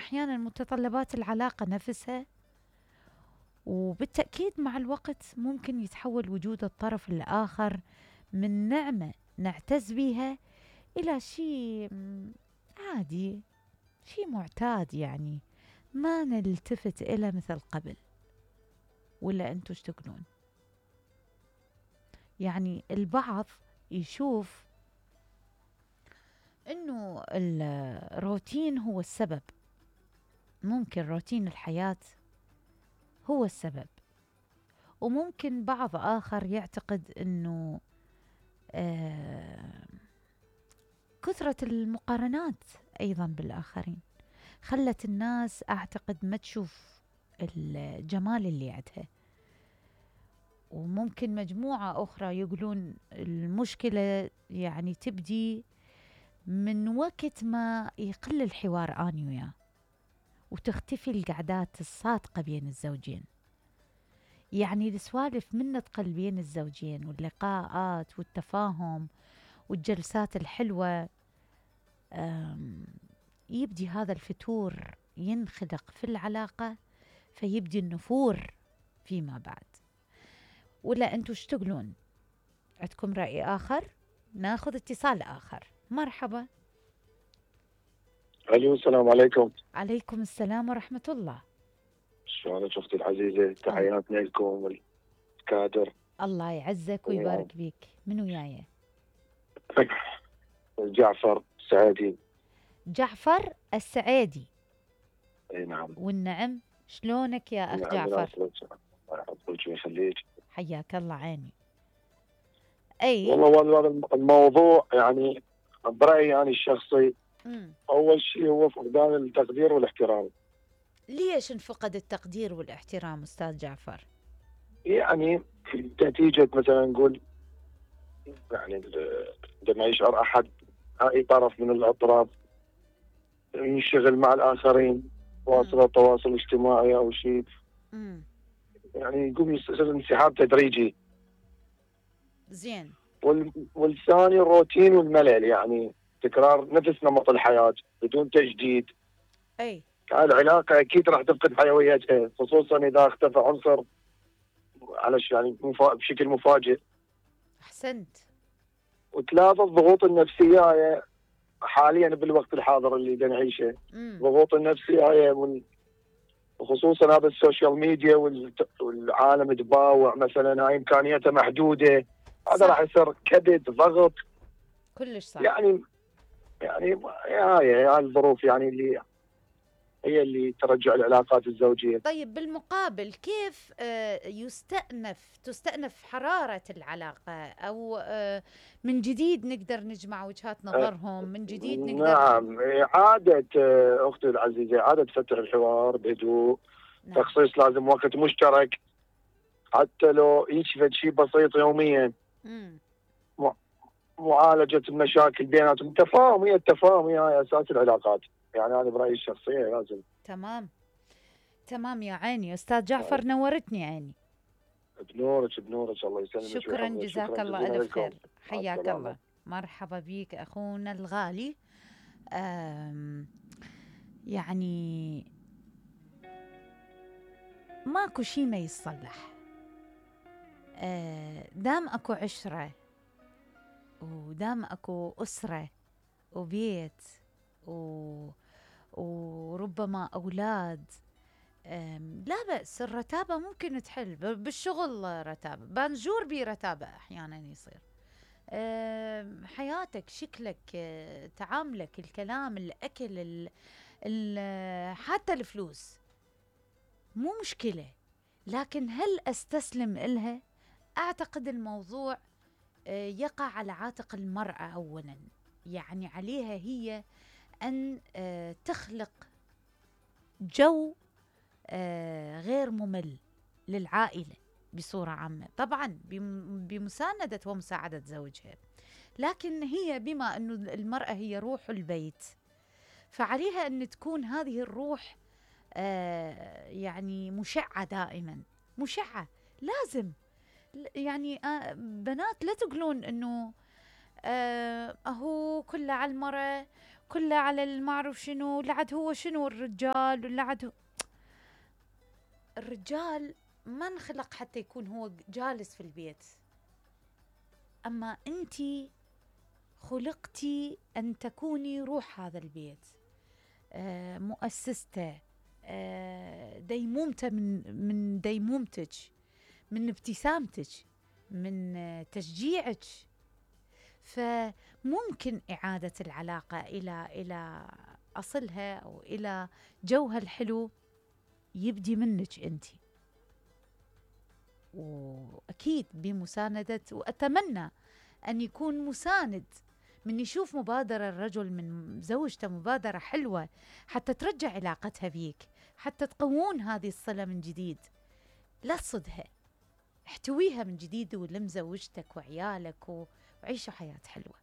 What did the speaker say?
أحيانا متطلبات العلاقة نفسها، وبالتأكيد مع الوقت ممكن يتحول وجود الطرف الآخر من نعمة نعتز بها إلى شيء عادي، شيء معتاد، يعني ما نلتفت إلى مثل قبل. ولا أنتوا ايش تقولون؟ يعني البعض يشوف إنه الروتين هو السبب، ممكن روتين الحياة هو السبب، وممكن بعض آخر يعتقد إنه كثرة المقارنات أيضا بالآخرين خلت الناس أعتقد ما تشوف الجمال اللي عندها. وممكن مجموعة أخرى يقولون المشكلة يعني تبدي من وقت ما يقل الحوار أنا وياه، وتختفي القعدات الصادقة بين الزوجين. يعني السوالف من تقل بين الزوجين واللقاءات والتفاهم والجلسات الحلوة، يبدي هذا الفتور ينخلق في العلاقة، فيبدي النفور فيما بعد. ولا أنتوا ايش تقولون؟ عندكم رأي آخر؟ ناخذ اتصال آخر. مرحبا. الو، السلام عليكم. عليكم السلام ورحمة الله. شلونك اختي العزيزة؟ تحياتنا لكم والكادر. الله يعزك ويبارك بيك. من وياي؟ جعفر السعيدي. جعفر السعيدي. اي نعم. والنعم. شلونك يا أخ جعفر؟ الله يحفظك ويخليك. حياك الله. عيني. أي والله الموضوع يعني برأيي يعني الشخصي، أول شيء هو فقدان التقدير والاحترام. ليش انفقد التقدير والاحترام أستاذ جعفر؟ يعني نتيجة مثلا نقول يعني عندما يشعر أحد أي طرف من الأطراف ينشغل مع الآخرين، وسائل التواصل الاجتماعي أو شيء، يعني يقوم يصير انسحاب تدريجي. زين. والثاني الروتين والملل، يعني تكرار نفس نمط الحياة بدون تجديد. أي العلاقة أكيد راح تفقد حيويتها، خصوصا إذا اختفى عنصر يعني بشكل مفاجئ. أحسنت. وثلاثة الضغوط النفسية حاليا بالوقت الحاضر اللي نعيشه، ضغوط النفسية وخصوصا هذا السوشيال ميديا والعالم تباوع، مثلا هاي إمكانياتها محدودة، هذا راح يصير كبد ضغط. كلش صح. يعني هاي الظروف يعني اللي هي اللي ترجع العلاقات الزوجية. طيب بالمقابل كيف تستأنف حرارة العلاقة، أو من جديد نقدر نجمع وجهات نظرهم، من جديد نقدر؟ نعم، إعادة أختي العزيزة، إعادة فتح الحوار بهدوء. نعم. تخصيص لازم وقت مشترك، حتى لو يشفت شيء بسيط يوميا. معالجة المشاكل بيناتهم. التفاهم هي أساس العلاقات، يعني أنا برأيي الشخصية لازم. تمام يا عيني. أستاذ جعفر نورتني عيني. بنورك الله يسلمك. شكرا جزاك الله ألف خير. حياك الله. مرحبا بيك أخونا الغالي. يعني ماكو شي ما يصلح، دام أكو عشرة، ودام أكو أسرة وبيت وربما أولاد، لا بأس. الرتابة ممكن تحل بالشغل، رتابة بنجور بي، رتابة أحيانا يصير. حياتك، شكلك، تعاملك، الكلام، الأكل، حتى الفلوس مو مشكلة، لكن هل أستسلم إلها؟ أعتقد الموضوع يقع على عاتق المرأة أولا. يعني عليها هي أن تخلق جو غير ممل للعائلة بصورة عامة، طبعا بمساندة ومساعدة زوجها. لكن هي بما أنه المرأة هي روح البيت، فعليها أن تكون هذه الروح يعني مشعة دائما، مشعة. لازم يعني بنات لا تقولون أنه أهو كله على المرأة، كله على المعروف شنو، لعد هو شنو الرجال، ولعد هو الرجال ما انخلق حتى يكون هو جالس في البيت، أما أنتِ خلقتي أن تكوني روح هذا البيت، مؤسسته، ديمومته، من ديمومتك، من ابتسامتك، من تشجيعك. فممكن إعادة العلاقة إلى أصلها أو إلى جوها الحلو يبدي منك أنتِ، وأكيد بمساندة، وأتمنى أن يكون مساند من يشوف مبادرة الرجل من زوجته، مبادرة حلوة حتى ترجع علاقتها بيك، حتى تقوون هذه الصلة من جديد. لا تصدها، احتويها من جديد ولم زوجتك وعيالك وعيشوا حياة حلوة.